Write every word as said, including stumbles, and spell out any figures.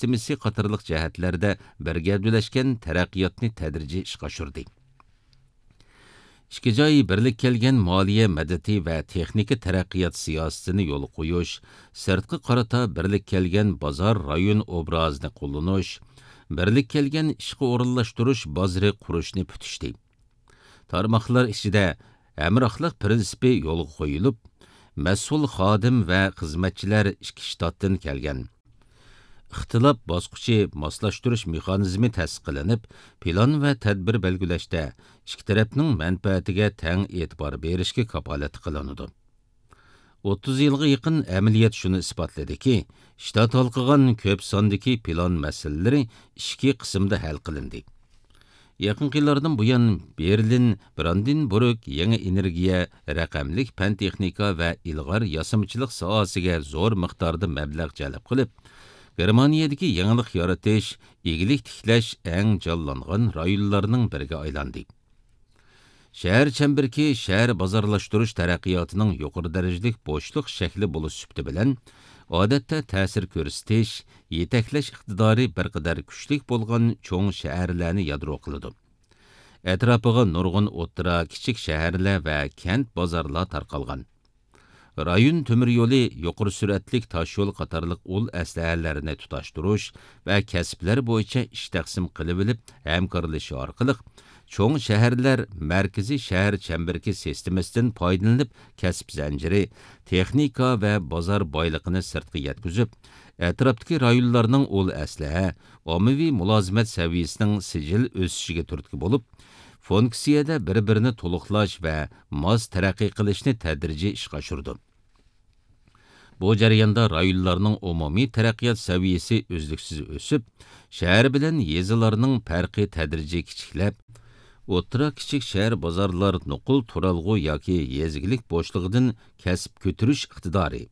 سىستېمىسى قاتارلىق جەھەتلەردە بىر گەۋدىلەشكەن تەرەققىياتنى تەدرىجىي ئىشقا ئاشۇردى. ئىككى جاي بىرلىككە كەلگەن مالىيە مەدىتى ۋە تېخنىكا تەرەققىيات سىياسىتىنى يولغا قويۇش، سىرتقا قارىتا بىرلىككە كەلگەن بازار رايون ئوبرازىنى قوللىنىش، بىرلىككە كەلگەن ئىشقا ئورۇنلاشتۇرۇش بازىرى قۇرۇشنى پۈتۈشتى. تارماقلار ئىچىدە ھەمراھلىق پىرىنسىپى يولغا قويۇلۇپ، مەسئۇل خادىم ۋە خىزمەتچىلەر ئىككى شتاتتىن كەلگەن. ئىختىلاپ باسقۇچى ماسلاشتۇرۇش مېخانىزمى تەسىس قىلىنىپ، پىلان ۋە تەدبىر بەلگىلەشتە ئىككى تەرەپنىڭ مەنپەئەتىگە تەڭ ئېتىبار بېرىشكە كاپالەتلىك قىلىنىدۇ. ئوتتۇز يىلغا يېقىن ئەمەلىيەت شۇنى ئىسپاتلىدىكى، شتات ھالقىغان كۆپ ساندىكى پىلان مەسىلىلىرى ئىچكى قىسىمدا ھەل قىلىندى. يېقىنقى يىللاردىن بۇيان، بېرلىن، براندېنبۇرگ يېڭى ئېنېرگىيە، رەقەملىك پەن-تېخنىكا ۋە ئىلغار ياسىمىچىلىق ساھەسىگە زور مىقداردا مەبلەغ جەلپ قىلىپ، گېرمانىيەدىكى يېڭىلىق يارىتىش، ئىگىلىك تىكلەش ئەڭ جانلانغان رايونلارنىڭ بىرىگە ئايلاندى. شەھەر چەمبىرىكى شەھەر بازارلاشتۇرۇش تەرەققىياتىنىڭ يۇقىرى دەرىجىلىك بوشلۇق شەكلى بولۇش سۈپىتى بىلەن، ئادەتتە تەسىر كۆرسىتىش، يېتەكلەش ئىقتىدارى بىر قەدەر كۈچلۈك بولغان چوڭ شەھەرلەرنى يادرو قىلىدۇ. ئەتراپىغا نۇرغۇن ئوتتۇرا، كىچىك شەھەرلەر ۋە كەنت بازارلار تارقالغان. رايون تۆمۈر يولى، يۇقىرى سۈرئەتلىك تاشيول قاتارلىق ئۇل ئەسلىھەلەرنى تۇتاشتۇرۇش ۋە كەسىپلەر بويىچە ئىش تەقسىم قىلىۋېلىپ ھەمكارلىشىش ئارقىلىق، چوڭ شەھەرلەر مەركىزىي شەھەر چەمبىرىكى سىستېمىسىدىن پايدىلىنىپ، كەسىپ زەنجىرى، تېخنىكا ۋە بازار بايلىقىنى سىرتقا يەتكۈزۈپ، ئەتراپتىكى رايونلارنىڭ ئۇل ئەسلىھە، ئاممىۋى مۇلازىمەت سەۋىيەسىنىڭ سىجىل ئۆسۈشىگە تۈرتكە بولۇپ، فۇنكسىيەدە بىر-بىرىنى تولۇقلاش ۋە ماس تەرەققىي قىلىشنى تەدرىجىي ئىشقا ئاشۇرىدۇ. بۇ جەرياندا رايونلارنىڭ ئومۇمىي تەرەققىيات سەۋىيەسى ئۈزلۈكسىز ئۆسۈپ، شەھەر بىلەن يېزىلارنىڭ پەرقى تەدرىجىي كىچىكلەپ، ئوتتۇرا، كىچىك شەھەر بازارلار نوقۇل تۇرالغۇ ياكى يېزا ئىگىلىك بوشلۇقىدىن كەسىپ كۆتۈرۈش ئىقتىدارى،